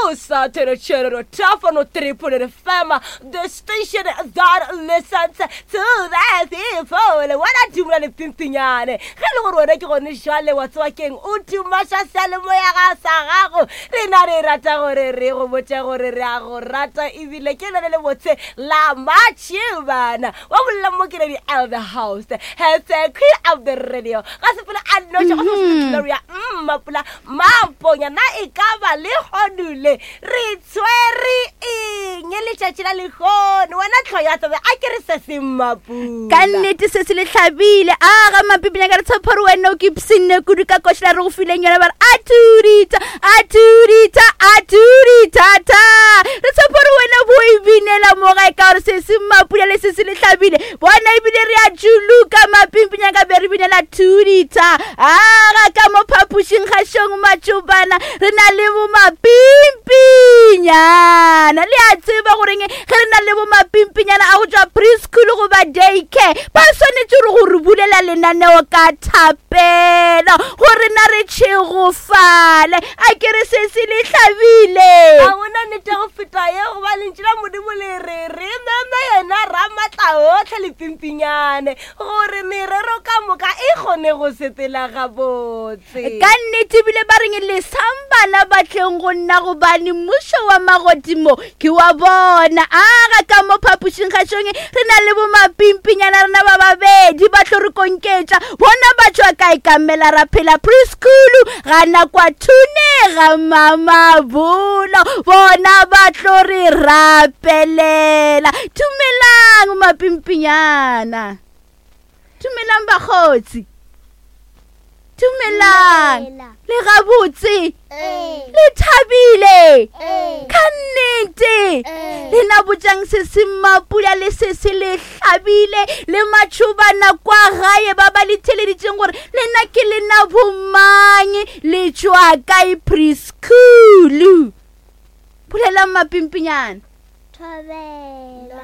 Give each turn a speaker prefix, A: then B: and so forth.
A: O sa theretšherero Tafano 3.0 FM, the station that listens to the people. Wena dumela le pimpinyane. Ge e le gore wena ke gone jwale wa tseba keng o tumaša seyalemoya ga sa gago. Rena re rata gore re go botše gore re a go rata ebile ke lone le botse la matšhibana. Wa bolela mo ke Lady L the host. Has a queen of the radio. Ga sepela a noša go se Gloria Mmapula Maponya na e ka ba lehono le re tshwere eng letšatši la lehono wena tlho ya tsebe a ke re se se mmapula
B: ka nnete se se le hlabile a ga mapipinya ka re tshepa gore wena o ke pshinne kudu ka košela re go fileng yona ba re a tudita a tudita a tuditata re tshepa gore wena bo e binela mo gae ka gore se se mmapula le se se le hlabile bona ebile re a juluka mapimpinya ka be re binela tudita Aga ka mo phapošing gašong matšobana re na le bomapimpinyana. Le a tseba goreng ge re na le bomapimpinyana a go tšwa preschool goba daycare ba swanetše re go re bulela lenaneo ka thapelo gore na re tšhegofale. A ke re se se le hlabile.
A: Ga gona nnete go feta ye goba lentšu la Modimo le re re meme yena Ramatlaohle lepimpinyane. Gore merero ka moka e kgone go sepela gabotse.
B: Ka nnete ebile ba reng lesang bana ba tleng go nna gobane mmušo wa magodimo ke wa bona. Aga ka mo phapošing gašong re na le bomapimpinyana rena ba babedi ba tlo re konketša bona ba tšwa kae ka mela ra phela preschool gana kwa thunega mamabolo bona ba tlo re rapelela dumelang mapimpinyana dumelang bakgotsi dumelang le gabotse le thabile ka nnete lena botšang se se mapula le se se le hlabile le matšhobana kwa gae ba ba le theleditšeng gore lena ke lena bomang le tšwa kae preschool bolelang mapimpinyana
C: Thobela.